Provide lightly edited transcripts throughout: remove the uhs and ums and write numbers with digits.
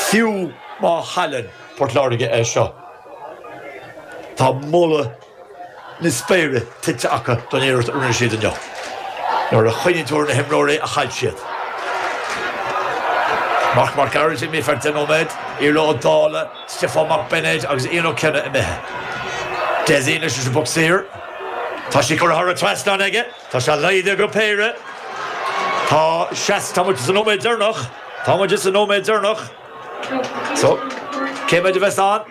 Fiú má chailleann Port Láirge é seo, tá moladh na spéire tuillte acu don iarracht a rinne siad inniu. Nuair a chuimhníonn tú ar na himreoirí a chaill siad. Marc Mac Gearailt imithe feadh 10 nóiméad, Iarla Ó Dálaigh, Stiofán Mac Beinéid agus Ian Ó Cionnaith imithe. Dessie anois leis an bpoc saor. Tá sí curtha thar an trasnán aige. Tá sé laghdaithe go péire. Tá seas, tá muid sa nóiméad deireanach. Tá muid sa nóiméad deireanach. So, cé mhéad a bheas ann?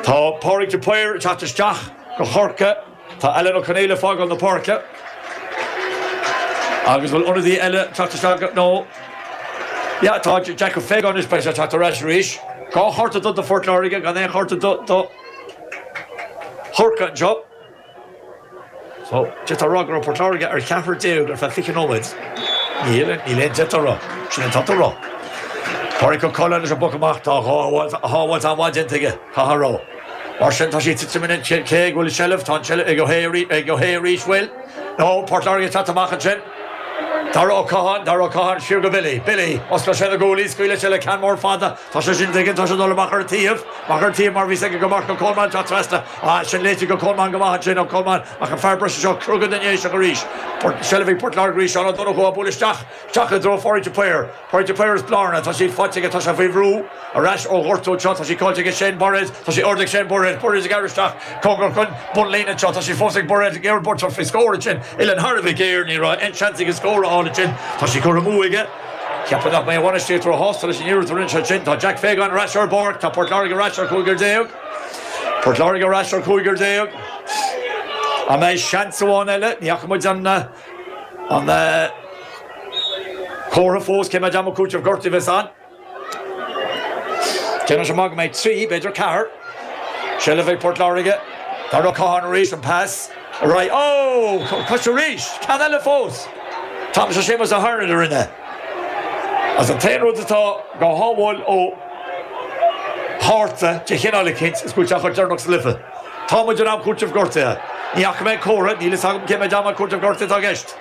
Tá Pádraig de Paor ag teacht isteach do Chorcaigh. Tá Alan Ó Conaola ag fágáil na páirce. Agus bhfuil ionadaí eile ag teacht isteach? No. Yeah, tá Jack Ó Faogáin anois, beidh sé ag teacht ar ais arís. Dhá chárta dubh do Phort Láirge, gan aon chárta dubh do Chorcaigh anseo. So, d'fhéadfá a rá go raibh Port Láirge ar cheathrar déag ar feadh 20 nóiméad. Níl, níl aon d'fhéadfá a rá. Sin an t-a rá. Pádraic Ó Coileáin leis an bpoc amach, tá a shábháilt an-mhaith déanta aige, caithfidh a rá. Mar sin, tá sí ag titim in cé go bhfuil seilbh, tá an tseilbh ag Ó hAodha arís, bhfuil? No, Port Láirge ag teacht amach ansin. Dara Ó Catháin, Dara Ó Catháin, siar go Billy. Billy, osclaíonn sé na guaillí, scaoileann sé le ceann mór fada. Tá sé sin aige, tá sé ag dul amach ar an taobh, amach ar an taobh mar bhí aige go Marc Ó Colmáin, tá trasna, ah, sin léite go Colmán go maith ansin, Ó Colmáin, ach an fear breise seo, crogall den nDéiseach arís. Port, seilbh ag Port Láirge arís, Seán Ó Donnchú á bualadh isteach, isteach i dtreo Phádraig de Paor, Pádraig de Paor is Blarna, tá sí faighte aige, tá sé faoi bhrú, ar ais ó ghortú anseo, tá sí caillte aige Shane Bairéad, tá sí ardaithe ag Shane Bairéad, Bairéad ag gearradh isteach, cóngarach don bhunlíne anseo, tá sí fós ag Bairéad, ag iarraidh buaiteoir faoi scór ansin, uillinn thar a bheith géar, ní raibh aon seans aige scór a fháil ansin, tá sí curtha amú aige. Ceapaim nach mbeidh a bhainistíocht róshásta leis an iarracht a rinne sé ansin. Tá Jack Fagan ar ais ar an bpáirc. Tá Port Láirge ar ais ar chúigear déag. Port Láirge ar ais ar chúigear déag. An mbeidh seans amháin eile? Ní fhaca muid an an comhartha fós cé mhéad am cúitimh gortaithe a bheas ann. Déanann sé amach go mbeidh 3, b'fhéidir 4. Seilbh ag Port Láirge. Dara Ó Catháin arís, an pas ar aghaidh. Ó! Cois arís! Ceann eile fós! Tá sé Séamus Ó hAirnéid a rinne. Agus an t-aon rud atá dhá shábháil ó chárta de chineál eicínt is go bhfuil sé á chur deireanach sa chluiche. Tá muid in am cúitimh gortaithe. Ní fhaca mé an comhartha, níl fhios agam cé mhéad am cúitimh gortaithe atá i gceist.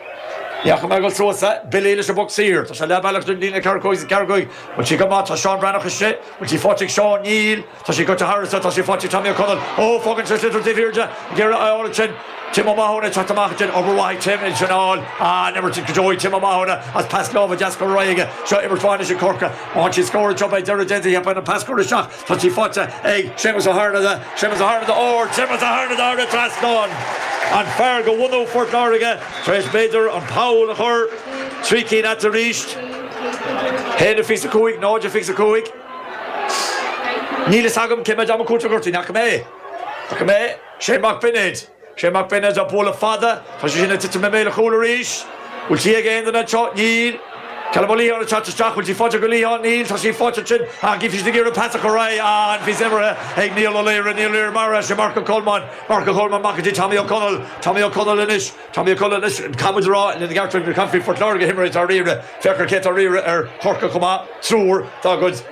Ní fhaca mé ag dul suas é. Billy leis an bpoc saor. Tá sé leath bealach den líne 4 5 4 5. Bhfuil sí go maith? Tá Seán Breathnach istigh. Bhfuil sí faighte ag Seán? Níl. Tá sí gaibhte thairis. Tá sí faighte ag Tommy Ó Conaill. Ó, fágann sé sliotar taobh thiar de. Ag iarraidh a fháil ansin. Tim Ó Mathúna ag teacht amach ansin. Obair mhaith ag Tim é sin a fháil. An-imirt go deo ag Tim Ó Mathúna as pas láimhe deas curtha ar aghaidh aige. Seo imirt mhaith anois ag Corcaigh. Má fhaigheann siad scór anseo beidh deireadh déanta. Cheapfainn an pas curtha isteach. Tá sí faighte ag Séamus Ó hArnada, Séamus Ó hArnada ard, Séamus Ó Harnada thar an trasnán! An fear de bhunadh Phort Láirge tar éis b'fhéidir an poll a chur trí cinn eatarthu arís. 1-25, 0-25. Níl fhios agam cé mhéad am cúiteamh gortaithe, ní fhaca mé é. Fhaca mé é. Shane Mac Beinéid. Shane Mac Beinéid á bualadh fada. Tá sé sin ag titim i mbéal an chúil arís. Bhfuil sí ag aon duine anseo? Níl. Callum Ó Liatháin ag teacht isteach. Bhfuil sí faighte ag Ó Liatháin? Níl. Tá sí faighte ansin. Ach bhí siad ag iarraidh pas a chur ar aghaidh. Ah, an phíosa imeartha ag Niall Ó Laoire. Niall Ó Laoire maraithe. Sin Marc Ó Colmáin. Marc Ó Colmáin amach go dtí Tommy Ó Conaill. Tommy Ó Conaill anois. Tommy Ó Conaill anois. Caithfidh muid a rá lena gceart gur caithfí Phort Láirge a himreoirí atá ar iarraidh. Féach ar cé atá ar iarraidh ar Chorcaigh chomh maith. Triúr dá gcuid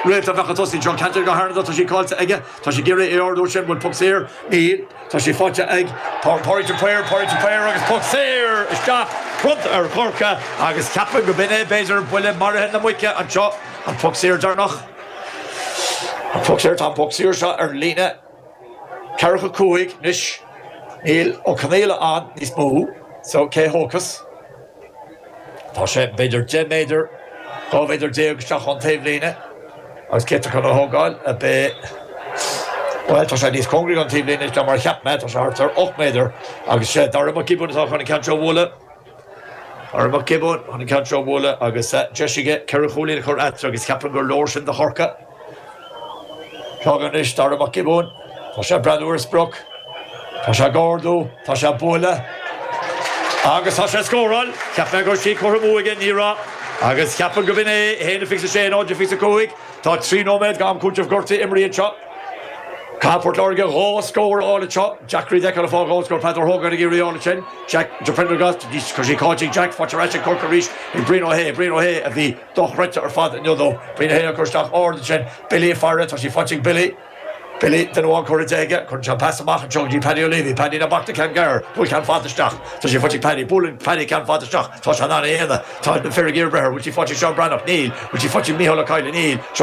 réalta a bheadh ag tosaí anseo. Ceantar go hArnada. Tá sí caillte aige. Tá sé ag iarraidh é a ardú ansin. Bhfuil poc saor? Níl. Tá sé faighte ag Pádraig de Paor, Pádraig de Paor agus poc saor isteach bronnta ar Chorcaigh agus ceapaim go b'in é b'fhéidir buille maraithe na muice anseo, an poc saor deireanach. An poc saor, tá an poc saor seo ar an líne ceathracha cúig anois. Níl Ó Conaola ann níos mó so cé thógfas? Tá sé b'fhéidir 10 méadar, 12 mhéadar isteach ón taobhlíne agus cé atá chun a thógáil? Ab é, bhuel, tá sé níos cóngaraí don taobhlíne ná mar a cheap mé, tá sé thart ar 8 méadar agus sé Dara Mac Giobúin atá chun an ceann seo a bhualadh. Dara Mac Giobúin chun an ceann seo a bhualadh agus deis aige ceithre chúilín a chur eatarthu agus ceapaim gur leor sin do Chorcaigh. Seo chugainn anois Dara Mac Giobúin. Tá sé ag breathnú ar a sprioc. Tá sé ag ardú. Tá sé ag bualadh. Agus tá sé ag scóráil. Cheap mé go raibh sí curtha amú aige, ní raibh. Agus ceapaim go b'in é, 1-26, 0-25. Tá 3 nóiméad d'am cúitimh gortaithe imeartha anseo. Caithfidh Port Láirge dhá scór a fháil anseo. Jack Reid feiceáil ag fáil dhá scór. Peadar Hogan ag iarraidh a fháil ansin. Jack de Prendergast, tá sí caillte ag Jack, faighte ar ais ag Corcaigh arís ag Brian Ó hAodha. Brian Ó hAodha a bhí dochreidte ar fad inniu dó. Brian Ó hAodha ag cur isteach ard ansin. Billy ag faire, tá sí faighte ag Billy. Billy, duine amháin curtha de aige. Cuireann sé an pas amach anseo go dtí Paddy O'Leary. Paddy ná bac le ceann gearr. Buail ceann fada isteach. Tá sí faighte ag Paddy. Buaileann Paddy ceann fada isteach. Tá sé in ann é a dhéanamh. Tá na fir ag iarraidh breith air. Bhfuil sí faighte ag Seán Breathnach? Níl. Bhfuil sí faighte ag Mícheál Ó Cadhla? Níl.